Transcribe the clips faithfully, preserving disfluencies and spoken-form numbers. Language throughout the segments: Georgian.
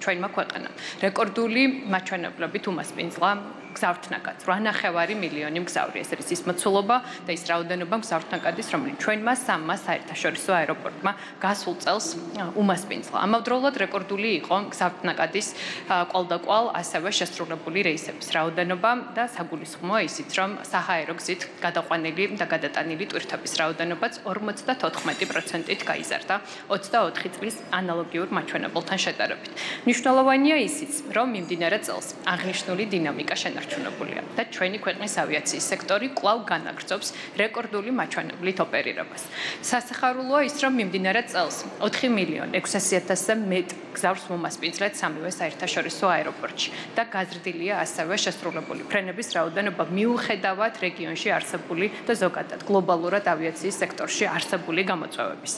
ჩვენმა ქვეყანამ. რეკორდული მაჩვენებლებით უმასპინძლა გზავრთნაკად რვანახევარი მილიონი მგზავრი, ეს არის ის მოცულობა და ის რაოდენობა მგზავრთნაკადის, რომელიც ჩვენმა სამმა საერთაშორისო აეროპორტმა გასულ წელს უმასპინძლა. ამავდროულად რეკორდული იყო გზავრთნაკადის კვალდაკვალ ასევე შესრულებული რეისების რაოდენობა და საგულისხმოა ისიც, რომ საჰაერო გზით გადაყვანილი და გადატანილი ტვირთების რაოდენობაც ორმოცდათოთხმეტი პროცენტით გაიზარდა ოცდაოთხი წლის ანალოგიურ მაჩვენებელთან შედარებით. მნიშვნელოვანია ისიც, რომ მიმდინარე წელს აღნიშნული დინამიკა შენარჩუნებულია და ჩვენი ქვეყნის ავიაციის სექტორი კვლავ განაგრძობს რეკორდული მაჩვენებლით ოპერირებას. სასიხარულოა ის, რომ მიმდინარე წელს ოთხი მილიონი ექვსასი ათასზე მეტ გზავრს მომასპინძლეთ სამივე საერთაშორისო აეროპორტში და გაზრდილია ასევე შესრულებული ფრენების რაოდენობა მიუხედავად რეგიონში არსებული და ზოგადად გლობალურად ავიაციის სექტორში არსებული გამოწვევების.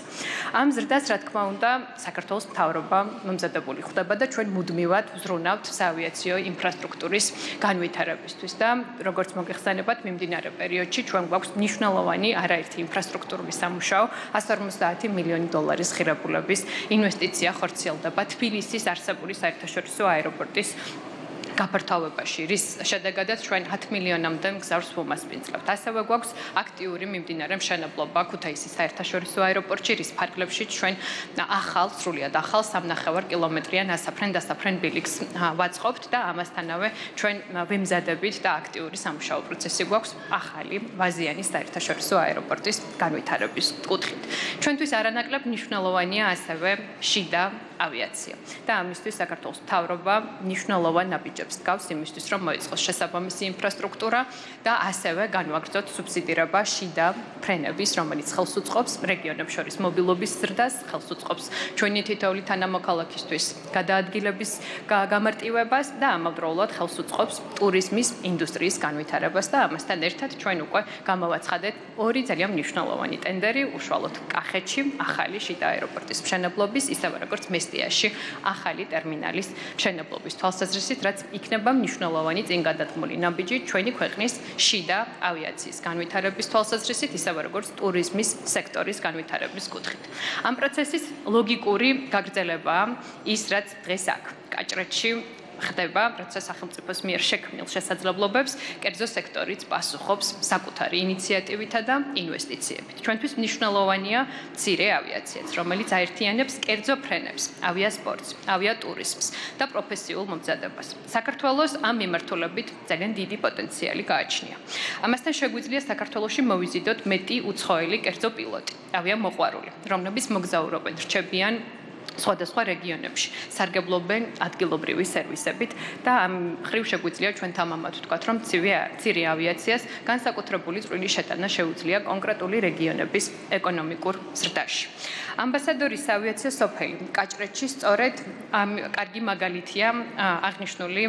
ამ ზრდას, რა თქმა უნდა, საქართველოს მთავრობა მომზადებული ხდება და ჩვენ მუდმივად ვზრუნავთ საავიაციო ინფრასტრუქტურის განვითარებისთვის და როგორც მოგეხსენებათ, მიმდინარე პერიოდში ჩვენ გვაქვს მნიშვნელოვანი არაერთი ინფრასტრუქტურული სამუშაო, ასი ორმოცდაათი მილიონი დოლარის ღირებულების ინვესტიცია ხორციელდება თბილისის არსებული საერთაშორისო აეროპორტის გაფართოვებაში, რის შედეგადაც ჩვენ ათი მილიონამდე მგზავრს ვუმასპინძლებთ. ასევე გვაქვს აქტიური მიმდინარე მშენებლობა ქუთაისის საერთაშორისო აეროპორტში, რის ფარგლებშიც ჩვენ ახალ, სრულიად ახალ სამნახევარ კილომეტრიან ასაფრენ-დასაფრენ ბილიკს ვაწყობთ და ამასთანავე ჩვენ ვიმზადებით და აქტიური სამუშაო პროცესი გვაქვს ახალი ვაზიანის საერთაშორისო აეროპორტის განვითარების კუთხით. ჩვენთვის არანაკლებ მნიშვნელოვანია ასევე შიდა ავიაცია და ამისთვის საქართველოს მთავრობა მნიშვნელოვან ნაბიჯებს დგავს იმისთვის, რომ მოიწყოს შესაბამისი ინფრასტრუქტურა და ასევე განვაგრძოთ სუბსიდირება შიდა ფრენების, რომელიც ხელს უწყობს რეგიონებს შორის მობილობის ზრდას, ხელს უწყობს ჩვენი თითოეული თანამოქალაქისთვის გადაადგილების გამარტივებას და ამავდროულად ხელს უწყობს ტურიზმის ინდუსტრიის განვითარებას და ამასთან ერთად ჩვენ უკვე გამოვაცხადეთ ორი ძალიან მნიშვნელოვანი ტენდერი, უშუალოდ კახეთში ახალი შიდა აეროპორტის მშენებლობის, ისევე როგორც მესტიაში ახალი ტერმინალის მშენებლობის თვალსაზრისით, რაც იქნება მნიშვნელოვანი წინგადადგმული ნაბიჯი ჩვენი ქვეყნის შიდა ავიაციის განვითარების თვალსაზრისით, ისევე როგორც ტურიზმის სექტორის განვითარების კუთხით. ამ პროცესის ლოგიკური გაგრძელებაა ის, რაც დღეს აქ კაჭრეთში ხდება, როცა სახელმწიფოს მიერ შექმნილ შესაძლებლობებს კერძო სექტორიც პასუხობს საკუთარი ინიციატივითა და ინვესტიციებით. ჩვენთვის მნიშვნელოვანია მცირე ავიაციაც, რომელიც აერთიანებს კერძო ფრენებს, ავიასპორტს, ავიატურიზმს და პროფესიულ მომზადებას. საქართველოს ამ მიმართულებით ძალიან დიდი პოტენციალი გააჩნია. ამასთან შეგვიძლია საქართველოში მოვიზიდოთ მეტი უცხოელი კერძო პილოტი, ავიამოყვარული, რომლებიც მოგზაურობენ, რჩებიან სხვადასხვა რეგიონებში, სარგებლობენ ადგილობრივი სერვისებით და ამ ხრივ შეგვიძლია ჩვენ თამამად ვთქვათ, რომ მცირე ავიაციას განსაკუთრებული წვლილი შეტანა შეუძლია კონკრეტული რეგიონების ეკონომიკურ ზრდაში. ამბასადორის ავიაცია სოფელი კაჭრეთში სწორედ კარგი მაგალითია აღნიშნული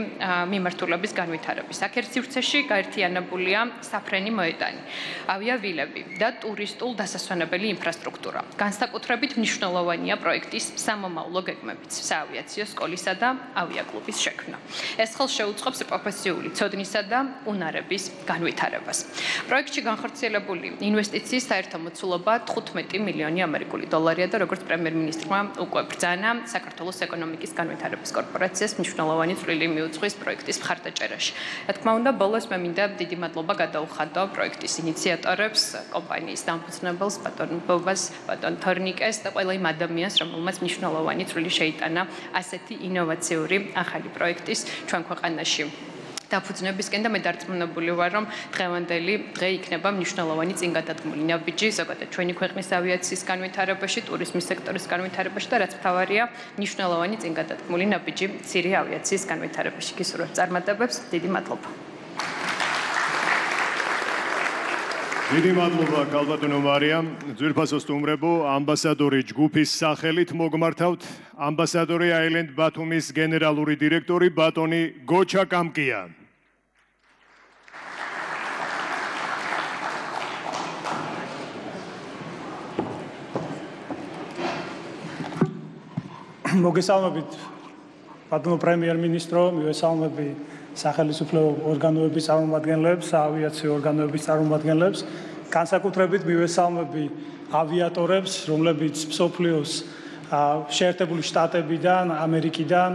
მიმართულების განვითარების. აქ ერთ სივრცეში გაერთიანებულია საფრენი მოედანი, ავიავილები და ტურისტულ დასასვენებელი ინფრასტრუქტურა. განსაკუთრებით მნიშვნელოვანია პროექტის სამომავლო გეგმებით, საავიაციო სკოლისა და ავიაკლუბის შექმნა. ეს ხელს შეუწყობს პროფესიული ცოდნისა და უნარების განვითარებას. პროექტში განხორციელებული ინვესტიციის საერთო მოცულობა თხუთმეტი მილიონი ამერიკული დოლარია და როგორც პრემიერ-მინისტრმა უკვე ბრძანა, საქართველოს ეკონომიკის განვითარების კორპორაციას მნიშვნელოვანი წვლილი მიუძღვის პროექტის მხარდაჭერაში. რა თქმა უნდა, ბოლოს მე მინდა დიდი მადლობა გადაუხადო პროექტის ინიციატორებს, კომპანიის დამფუძნებელს, ბატონ ბობას, ბატონ თორნიკეს და ყველა იმ ადამიანს, რომელმაც მნიშვნელოვანი წვლილი შეიტანა ასეთი ინოვაციური ახალი პროექტის ჩვენ ქვეყანაში დაფუძნებისკენ და მე დარწმუნებული ვარ, რომ დღევანდელი დღე იქნება მნიშვნელოვანი წინგადადგმული ნაბიჯი ზოგადად ჩვენი ქვეყნის ავიაციის განვითარებაში, ტურიზმის სექტორის განვითარებაში და რაც მთავარია, მნიშვნელოვანი წინგადადგმული ნაბიჯი მცირე ავიაციის განვითარებაში. გისურვებთ წარმატებებს, დიდი მადლობა. დიდი მადლობა ქალბატონო მარიამ. ძვირფასო სტუმრებო, ამბასადორი ჯგუფის სახელით მოგმართავთ ამბასადორი აილენდ ბათუმის გენერალური დირექტორი ბატონი გოჩა კამკია. მოგესალმებით ბატონო პრემიერ-მინისტრო, მივესალმები სახელმწიფო ორგანოების წარმომადგენლებს, ავიაციო ორგანოების წარმომადგენლებს, განსაკუთრებით მივესალმები ავიატორებს, რომლებიც მსოფლიოს შეერთებული შტატებიდან, ამერიკიდან